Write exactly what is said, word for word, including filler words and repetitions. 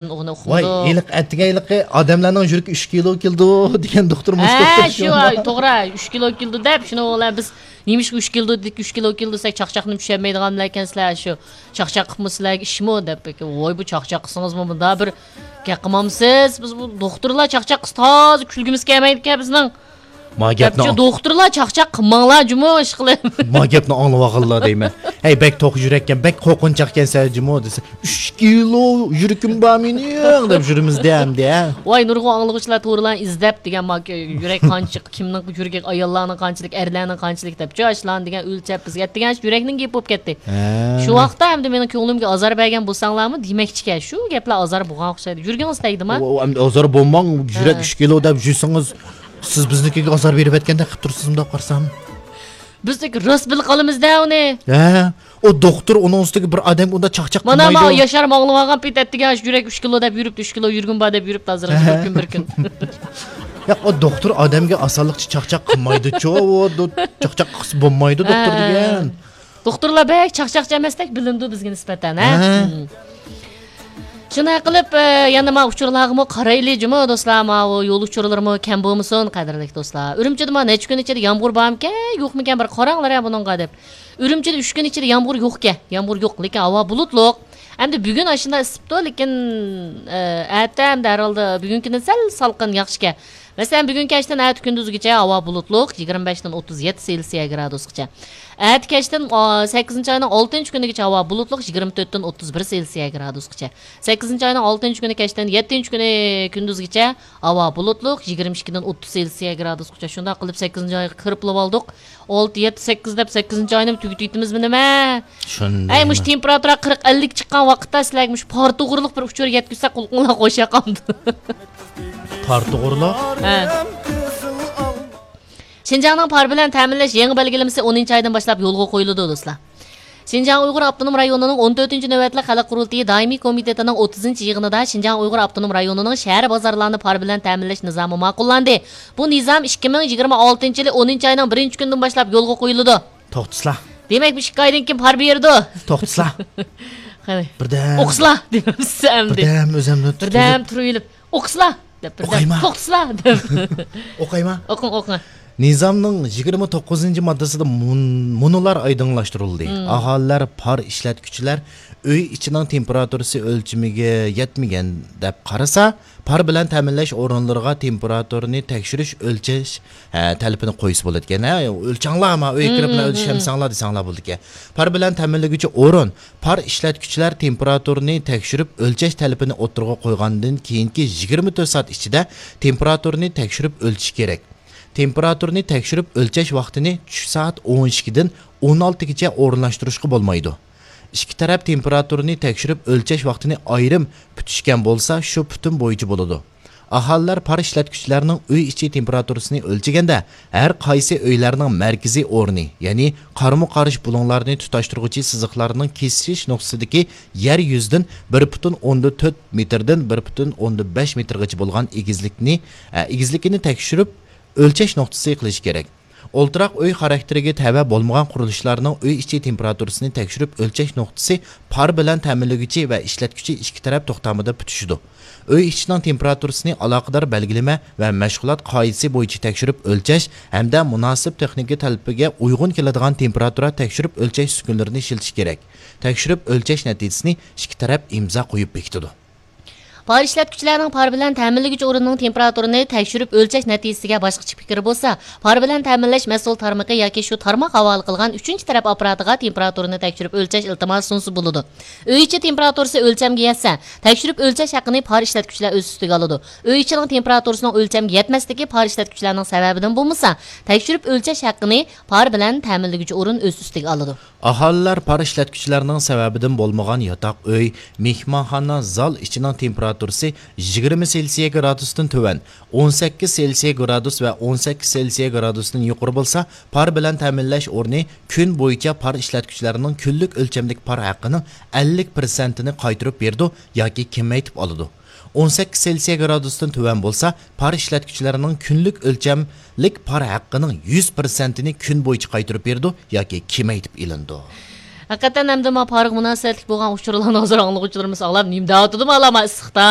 ئۇنى ۋاي، ئۇقمىدۇق. ھېلىقى ئەتىگەن ھېلىقى ئادەملەرنىڭ يۈرىكى ئۈچ كىلو كېلىدۇ دېگەن دوختۇرمۇ ھە، شۇ، توغرا، ئۈچ كىلو كېلىدۇ دەپ، شۇنى ئۇلار بىز نېمىشقا ئۈچ كىلو، ئۈچ كىلو كېلىدۇ دېسەك، چاقچاقنى چۈشەنمەيدىغانلار ئىكەنسىلەر، شۇ چاقچاق قىلىپمۇ سىلەرگە ئىشمۇ دەپ، ۋاي، بۇ چاقچاق قىلسىڭىزمۇ مۇنداق بىر گەپ قىلمامسىز؟ بىز بۇ دوختۇرلار چاقچاق قىلسا تازا كۈلگۈمىز كەلمەيدىكەن بىزنىڭ. ما گەپنى دەپچۇ، دوختۇرلار چاقچاق قىلماڭلار جۇمۇ، ئىشقىلىپ. ما گەپنى ئاڭلىۋالغىنلا دەيمەن. ھەي، بەك توق يۈرەككەن، بەك قورقۇنچاقكەنسەن جۇمۇ دېسە، ئۈچ كىلو يۈرىكىم بار مېنىڭ دەپ يۈرىمىز دە ئەمدى، ھە. ۋاي، نۇرغۇن ئاڭلىغۇچىلار تورىلارنى ئىزدەپ دېگەن، ما يۈرەك قانچىلىك، كىمنىڭ يۈرىكى، ئاياللارنىڭ قانچىلىك، ئەرلەرنىڭ قانچىلىك دەپچۇ، ئاشۇلارنى دېگەن ئۆلچەپ بىزگە ئەتىگەن يۈرەكنىڭ گېپى بولۇپ كەتتى. ھە. شۇ ۋاقىتتا ئەمدى مېنىڭ كۆڭلۈمگە ئازار بەرگەن بولساڭلارمۇ دېمەكچىكەن، شۇ گەپلەر ئازار بولغان ئوخشايدۇ. يۈرگىڭىز تەگدىما؟ ئۇ، ئۇ ئەمدى ئازار بولماڭ، يۈرەك ھە. ئۈچ كىلو دەپ يۈرسىڭىز، سىز بىزنىڭكىگە ئازار بېرىۋەتكەندەك قىلىپ تۇرسىز، مۇنداق قارىسام. بىز راست بىلىپ قالىمىز-دە ئۇنى. ھە، ئۇ دوختۇر ئۇنىڭ ئۈستىگە بىر ئادەمگە ئۇنداق چاقچاق مانا، قىلمايدۇ. مانا ياشار ماڭلىۋالغان پېتى ئەتىگەن شۇ يۈرەك ئۈچ كىلو دەپ يۈرۈپتۇ، ئۈچ كىلو يۈرگۈن بار دەپ يۈرۈپتۇ ھازىر بىر كۈن، بىر كۈن. ياق، ئۇ دوختۇر ئادەمگە ئاسانلىقچە چاقچاق قىلمايدۇچۇ، ئۇ دو-، چاقچاق قىلسا بولمايدۇ دوختۇر ھە. دېگەن. دوختۇرلار بەك چاقچاقچى ئەمەستەك بىلىنىدۇ بىزگە نىسبەتەن، ھە؟ ھە. مم. شۇنداق قىلىپ، ئە، يەنە ما ئۇچۇرلارغىمۇ قارايلى جۇمۇ دوستلار، ماۋۇ يول ئۇچۇرلىرىمۇ كەم بولمىسۇن، قەدىرلىك دوستلار. ئۈرۈمچىدە ما نەچچە كۈن ئىچىدە يامغۇر بارمىكەن، يوقمىكەن، بىر قاراڭلار ھە بۇنىڭغا دەپ. ئۈرۈمچىدە ئۈچ كۈن ئىچىدە يامغۇر يوقكەن، يامغۇر يوق، لېكىن ھاۋا بۇلۇتلۇق. ئەمدى بۈگۈن ئاشۇنداق ئىسسىپتۇ، لېكىن، ئە، ئەتە ئەمدى ھەر ھالدا بۈگۈنكىدىن سەل سالقىن، ياخشىكەن. مەسىلەن، بۈگۈن كەچتىن ئەتە كۈندۈزگىچە ھاۋا بۇلۇتلۇق، يىگىرمە بەشتىن ئوتتۇز يەتتە سېلسىيە گرادۇسقىچە. ئەتە كەچتىن، ئا، سەككىزىنچى ئاينىڭ ئالتىنچى كۈنىگىچە ھاۋا بۇلۇتلۇق، يىگىرمە تۆتتىن ئوتتۇز بىر سېلسىيە گرادۇسقىچە. سەككىزىنچى ئاينىڭ ئالتىنچى كۈنى كەچتىن يەتتىنچى كۈنى كۈندۈزگىچە ھاۋا بۇلۇتلۇق، يىگىرمە ئىككىدىن ئوتتۇز سېلسىيە گرادۇسقىچە. شۇنداق قىلىپ، سەككىزىنچى ئايغا كىرىپلا بولدۇق. ئالتە، يەتتە، سەككىز دەپ سەككىزىنچى ئاينىمۇ تۈگىتىۋېتىمىزمۇ نېمە؟ شۇنداق. ئەي، مۇشۇ تېمپېراتۇرا قىرىق، ئەللىك چىققان ۋاقىتتا سىلەرگە مۇشۇ پارتوغرىلىق بىر ئۇچۇر يەتكۈزسەك، قۇلىقىڭلار خۇش ياقامدۇ. پارتوغرىلىق؟ ھە. شىنجاڭنىڭ پار بىلەن تەمىنلەش يېڭى بەلگىلىمىسى ئونىنچى ئايدىن باشلاپ يولغا قويۇلىدۇ، دوستلار. شىنجاڭ ئۇيغۇر ئاپتونوم رايونىنىڭ ئون تۆتىنچى نۆۋەتلىك خەلق قۇرۇلتىيى دائىمىي كومىتېتىنىڭ ئوتتۇزىنچى يىغىنىدا شىنجاڭ ئۇيغۇر ئاپتونوم رايونىنىڭ شەھەر بازارلارنى پار بىلەن تەمىنلەش نىزامى ماقۇللاندى. بۇ نىزام ئىككى مىڭ يىگىرمە ئالتىنچى يىلى ئونىنچى ئاينىڭ بىرىنچى كۈنىدىن باشلاپ يولغا قويۇلىدۇ. توختىسىلا. دېمەك، بۇ ئىككى ئايدىن كېيىن پار بېرىدۇ. توختىسىلا. قېنى. بىردەم. ئوقۇسىلا دېمەمسىز ئەمدى. بىردەم ئۆزۈمنى بىردەم تۇتۇپ. تۇرۇۋېلىپ، ئوقۇسىلا دەپ بىردەم. ئوقۇيما. توختىسىلا دەپ. ئوقۇيما. ئوقۇڭ، ئوقۇڭ. نىزامنىڭ يىگىرمە توققۇزىنچى ماددىسىدا مۇن-، مۇنۇلار ئايدىڭلاشتۇرۇلدى. مم. ئاھالىلەر پار ئىشلەتكۈچىلەر ئۆي ئىچىنىڭ تېمپېراتۇرىسى ئۆلچىمىگە يەتمىگەن دەپ قارىسا، پار بىلەن تەمىنلەش ئورۇنلىرىغا تېمپېراتۇرىنى تەكشۈرۈش، ئۆلچەش، ھە، تەلىپىنى قويسا بولىدىكەن. ھە، ئۆلچەڭلار، ما ئۆيگە كىرىپ مم، مم، ئۆلچەمسەڭلار دېسەڭلار بولىدىكەن. پار بىلەن تەمىنلىگۈچى ئورۇن پار ئىشلەتكۈچىلەر تېمپېراتۇرىنى تەكشۈرۈپ ئۆلچەش تەلىپىنى ئوتتۇرىغا قويغاندىن كېيىنكى يىگىرمە تۆت سائەت ئىچىدە تېمپېراتۇرىنى تەكشۈرۈپ ئۆلچىشى كېرەك. تېمپېراتۇرىنى تەكشۈرۈپ ئۆلچەش ۋاقتىنى چۈش سائەت ئون ئىككىدىن ئون ئالتىگىچە ئورۇنلاشتۇرۇشقا بولمايدۇ. ئىككى تەرەپ تېمپېراتۇرىنى تەكشۈرۈپ ئۆلچەش ۋاقتىنى ئايرىم پۈتۈشكەن بولسا، شۇ پۈتۈم بويىچە بولىدۇ. ئاھالىلەر پار ئىشلەتكۈچىلەرنىڭ ئۆي ئىچى تېمپېراتۇرىسىنى ئۆلچىگەندە، ھەر قايسى ئۆيلەرنىڭ مەركىزىي ئورنى، يەنى قارمۇ قارشى بۇلۇڭلارنى تۇتاشتۇرغۇچى سىزىقلارنىڭ كېسىشىش نۇقتىسىدىكى يەر يۈزىدىن بىر پۈتۈن ئوندىن تۆت مېتىردىن بىر پۈتۈن ئوندىن بەش مېتىرغىچە بولغان ئېگىزلىكنى، ئە، ئېگىزلىكىنى تەكشۈرۈپ ئۆلچەش نۇقتىسى قىلىشى كېرەك. ئولتۇراق ئۆي خاراكتېرىگە تەۋە بولمىغان قۇرۇلۇشلارنىڭ ئۆي ئىچى تېمپېراتۇرىسىنى تەكشۈرۈپ ئۆلچەش نۇقتىسى پار بىلەن تەمىنلىگۈچى ۋە ئىشلەتكۈچى ئىككى تەرەپ توختامىدا پۈتۈشىدۇ. ئۆي ئىچىنىڭ تېمپېراتۇرىسىنى ئالاقىدار بەلگىلىمە ۋە مەشغۇلات قائىدىسى بويىچە تەكشۈرۈپ ئۆلچەش ھەمدە مۇناسىپ تېخنىكا تەلىپىگە ئۇيغۇن كېلىدىغان تېمپېراتۇرا تەكشۈرۈپ ئۆلچەش ئۈسكۈنىلىرىنى ئىشلىتىش كېرەك. تەكشۈرۈپ ئۆلچەش نەتىجىسىنى ئىككى تەرەپ ئىمزا قويۇپ بېكىتىدۇ. پار ئىشلەتكۈچىلەرنىڭ پار بىلەن تەمىنلىگۈچى ئورۇننىڭ تېمپېراتۇرىنى تەكشۈرۈپ ئۆلچەش نەتىجىسىگە باشقىچە پىكرى بولسا، پار بىلەن تەمىنلەش مەسئۇل تارمىقى ياكى شۇ تارماق ھاۋالە قىلغان ئۈچىنچى تەرەپ ئاپپاراتىغا تېمپېراتۇرىنى تەكشۈرۈپ ئۆلچەش ئىلتىماسى سۇنسا بولىدۇ. ئۆي ئىچى تېمپېراتۇرىسى ئۆلچەمگە يەتسە، تەكشۈرۈپ ئۆلچەش ھەققىنى پار ئىشلەتكۈچىلەر ئۆز ئۈستىگە ئالىدۇ. ئۆي ئىچىنىڭ تېمپېراتۇرىسىنىڭ ئۆلچەمگە يەتمەسلىكى پار ئىشلەتكۈچىلەرنىڭ سەۋەبىدىن بولمىسا، تەكشۈرۈپ ئۆلچەش ھەققىنى پار بىلەن تەمىنلىگۈچى ئورۇن ئۆز ئۈستىگە ئالىدۇ. ئاھالىلەر پار ئىشلەتكۈچىلەرنىڭ سەۋەبىدىن بولمىغان ياتاق ئۆي، مېھمانخانا، زال ئىچىنىڭ تېمپېراتۇرىسى يىگىرمە سېلسىيە گرادۇستىن تۆۋەن، ئون سەككىز سېلسىيە گرادۇس ۋە ئون سەككىز سېلسىيە گرادۇستىن يۇقىرى بولسا، پار بىلەن تەمىنلەش ئورنى كۈن بويىچە پار ئىشلەتكۈچىلەرنىڭ كۈنلۈك ئۆلچەملىك پار ھەققىنىڭ ئەللىك پىرسەنتىنى قايتۇرۇپ بېرىدۇ ياكى كېمەيتىپ ئالىدۇ. ئون سەككىز سېلسىيە گرادۇستىن تۆۋەن بولسا، پار ئىشلەتكۈچىلەرنىڭ كۈنلۈك ئۆلچەملىك پار ھەققىنىڭ يۈز پىرسەنتىنى كۈن بويىچە قايتۇرۇپ بېرىدۇ ياكى كېمەيتىپ ئېلىنىدۇ. ھەقىقەتەن ئەمدى ما پارىغا مۇناسىۋەتلىك بولغان ئۇچۇرلارنى ھازىر ئاڭلىغۇچىلىرىمىز ئاڭلاپ، نېمە دەۋاتىدۇ مالا ما ئىسسىقتا؟